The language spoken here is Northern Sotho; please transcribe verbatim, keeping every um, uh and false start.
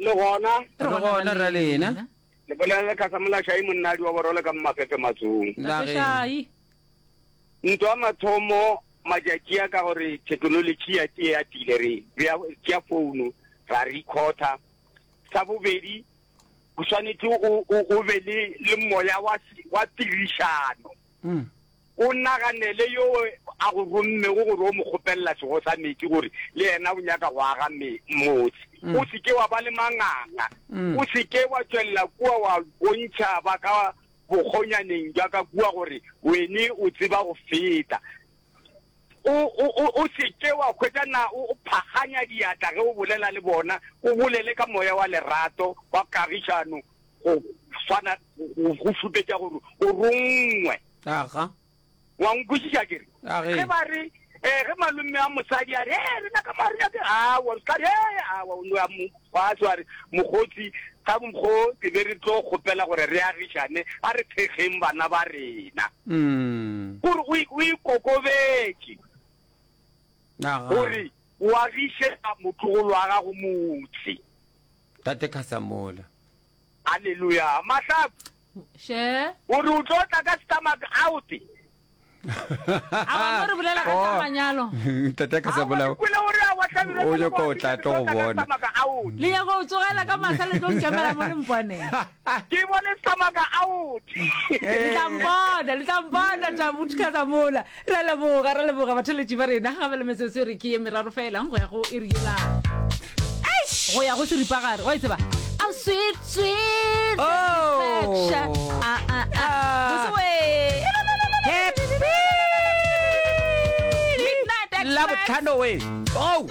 Le gona Re gona ra lena. Le bolela le Khasamola Shai monnadi wa borole ka Mafefe Matsong. La ge. Shai. Ntwa ya mathomo matšatši a ka gore technology ya tee ya tile re bea tšea founu ra recorda. Sa bobedi o swanetše o o o be le le moya wa wa tirišano. Mm. O naganele yo a go rommego gore o mo kgopelela sego sa metsi gore le yena o nyaka go aga me motse. Mm. O se ke wa ba le manganga. Mm. O se ke wa tšwelela kua wa bontšha ba ka bokgonyaneng jwa ka kua gore wene o tseba go feta. O o o o se ke wa hwetša na o o phaganya diatla ge o bolela le bona, o bolele ka moya wa lerato wa kagišano go swana go go šupetša gore o rongwe. Aga. Wa nkwešiša ke re? A ge. Ge ba re eh ge malome a mosadi a re eh rena ka mo re nyake awa ka re eh awa o no ya mo fatshe wa re mokgotsi ka mokgo ke be re tlo kgopela gore re agišane a re thekgeng bana ba rena. Mm. Gore o o ikokobetše Aga. gore o agiše motlogolo wa gago motse. Tate Khasamola. Hallelujah. Mahlaku She. o re o tlo tla ka stomach out. A wa mo re bolela ka tsa manyalo. Tate Khasamola. Aowa, ke kwele gore aowa, Hlabirwa, O nyaka o tla tlo go bona. stomach out. Le nyaka go tsogela ka masa le tlo nkemela mo le mponeng. Ke bone stomach out. Le tla mpona, le tla mpona Tabuti Khasamola. Re a leboga, re leboga batheletši ba rena. Gape le metsotso e re ke ye meraro fela go ya go iri yela. Go ya go seripagare. Wa e tseba? I'm sweet, sweet Oh. satisfaction. Ah, ah, ah. Ah. Botse we. Happy Midnight Express. Labohlano we. Oh.